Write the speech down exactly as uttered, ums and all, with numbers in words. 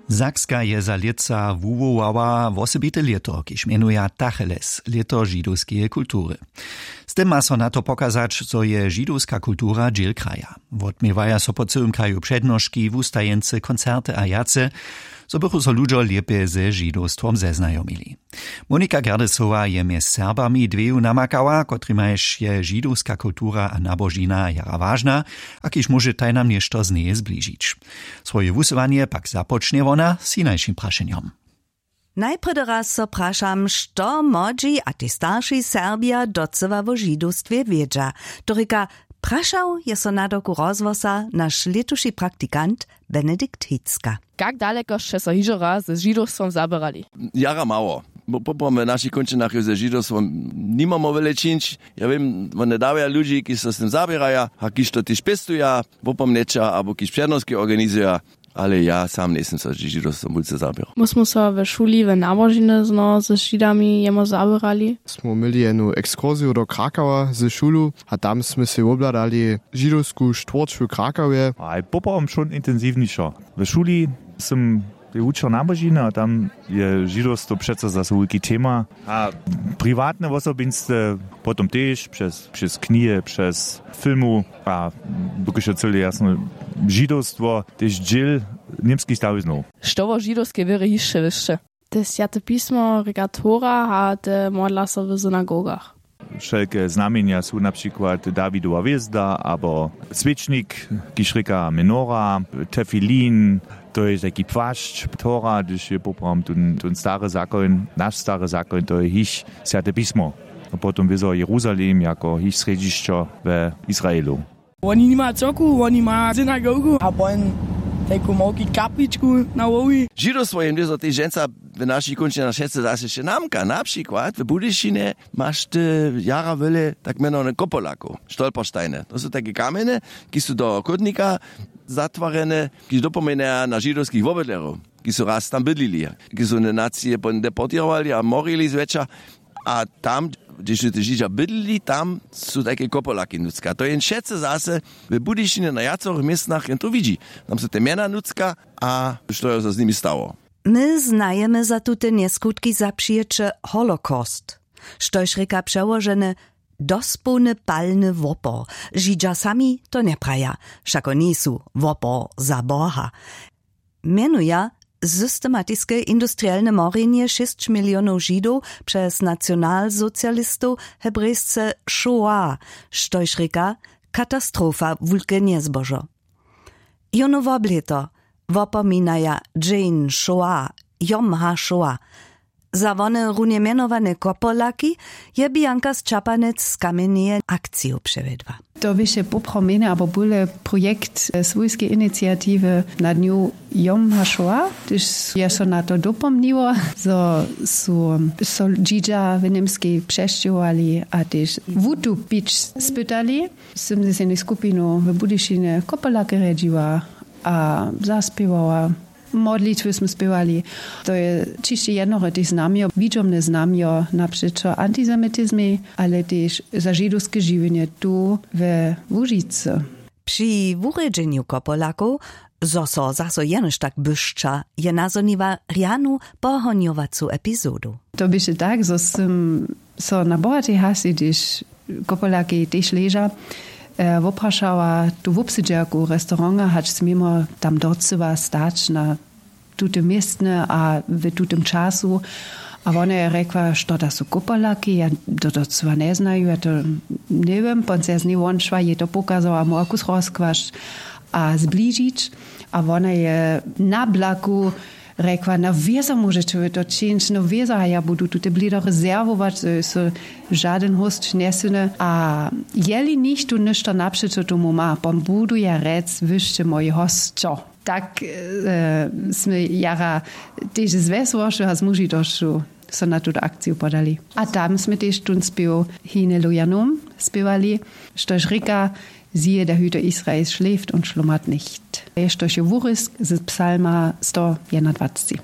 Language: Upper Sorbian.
Sakska je za lětsa wuwołała wosebite lěto, kiž mjenuja tacheles, lěto židowskeje kultury. Z tym ma so na to pokazać, zo je židowska kultura dźěl kraja. Wotměwaja so po cyłym kraju přednoški, wustajeńcy, koncerty a wjace, zo bychu so ludźo lěpje ze židowstwom zeznajomili. Monika Gerdesowa je mjez Serbami dweju namakała, kotrimajž je židowska kultura a nabožina jara wažna, a kiž móže tajnam něšto z njeje zbližić. Swoje wusyłanje pak započnje wona z hinašim prašenjom. Najprjedy raz so prašam, što młodźi a tež starši Serbja docyła wo židowstwje wědźa. To rěka, prašał je so nadawku rozhłosa naš lětuši praktikant Benedikt Hicka. Kak daleko sće so hižo raz z židowstwom zaběrali? Jara mało. Bo poprawom w našich kónčinach je ze židowstwom nimamo wjele čińć. Ja wěm, wone dawaja ludźi, kiž so z tym zaběraja a kiž to tež pěstuja, wopomnjeća abo kiž přednoski organizuja. Ale ja sam njejsym so z židowstwom wulce zaběrał. My smy so we šuli w nabožiny zno z židami jemo zaběrali. Smy měli jednu ekskursiju do Krakowa ze šulu a tam smy sej wobhladali židowsku štwórć w Krakowje. A je poprawom wšón intensiwnišo. W šuli sym je wučer nabožiny a tam je židowstwo přeco zaso wulki tema. A priwatne wosobinstwo potom tež přez přez knihe, přez filmu a dokelž je cyle jasno, židowstwo tež dźěl němskich stawiznow. Što wo židowskej wěrje hišće wěsće? Te swjate pismo rěka tora a te modla so w synagogach. Wšelke znamjenja su na přikład dawidowa hwězda abo swěčnik, kiž rěka menora, tefilin, to je tajki płašć, tora, hdyž je poprawom tón tón stary zakoń, naš stary zakoń, to je hiš swjate pismo. A potom wězo jeruzalem jako hiš srjedźišćo we israelu. Woni nima cyrku, woni ma synagogu a pon tajku małki kapličku na hłowi. Židowstwo je wězo tež dźensa w našich kónčinach wšetcy zaso wšě namka. Na přikład w budyšinje maš ty jara wjele tak mjenowany kopolakow, stolpersteine, to su tajke kamjene, kiž su do chódnika zatwarjene, kiž dopomnjeja na židowskich wobydlerjow, kiž su raz tam bydlili, kiž su wone nacije pon deportěrowali a morili zwjetša. A tam, hdźež su te židźa bydlili, tam su tajke kopolaki nutřka. To jen wšetcy zase w budyšinje na wjacorych městnach jen to widźi. Tam su te mjena nutřka a što je so z nimi stało. My znajemy za tute njeskutki zapřijeće holocaust, štož rěka přełožene dospołny palny wopor. Židźa sami to njepraja, wšako njejsu wopor za boha. Mjenuja systematiske industrielne morjenje šěsć milionow židow přez nacionalsocialistow hebrejsce šoa, štož rěka katastrofa wulke njezbožo. Jónu woblěto wopominaja dźeń šoa, jom ha šoa. Za wone runje mjenowane kopolaki je bianka z čapanec z kamjenjeje akciju přewjedła. To běše poprawom mjene abo bóle projekt swójskeje iniciatiwy na dnju jom ha šoa, hdyž je so na to dopomniło, zo su so dźidźa w němskej přesćěhowali a tež wutupić spytali. Sym z jednej skupinu w budyšinje kopolake rjedźiła a zaspěwała. Modlitwy smy spěwali. To je ćišće jednoho tež znamjo, widźomne znamjo na přećo antisemitizmej, ale tež za židowske žiwjenje tu we łužicy. Při wurjedźenju kopolakow, zo so zaso jenož tak byšća, je nazhoniła rjanu pohonjowacu epizodu. To běše tak, zo sym so na bohatej hasi, hdyž kopolakej tež leža, woprašała tu wobsedźerku restauranta, hač směmo tam docyła stać na tutym městnje a w tutym času. A wona je rjekła, što da su kopolaki, ja to docyła njeznaju, ja to njewěm. Pon se z njej wonšła, jej to pokazała, móhła kus rozkłašć a zbližić. A wona je na blaku rjekła, na wězo móžeće wy to čińć, na wězo, a ja budu tute blido rezerwować, zo je so žadyn hósć njesyny. A jeli nichtó něšto napřećo tomu ma, pon budu ja rjec, wy sće mój hósćo. Tak smy jara tež z wjesłošću a z mužitosću so na tutu akciju podali. A tam smy tež tón spěw Hine Lujanum spěwali, štož rěka, siehe, der Hüter Israels schläft und schlummert nicht, štož je wurězk z psalma sto jedynadwacci.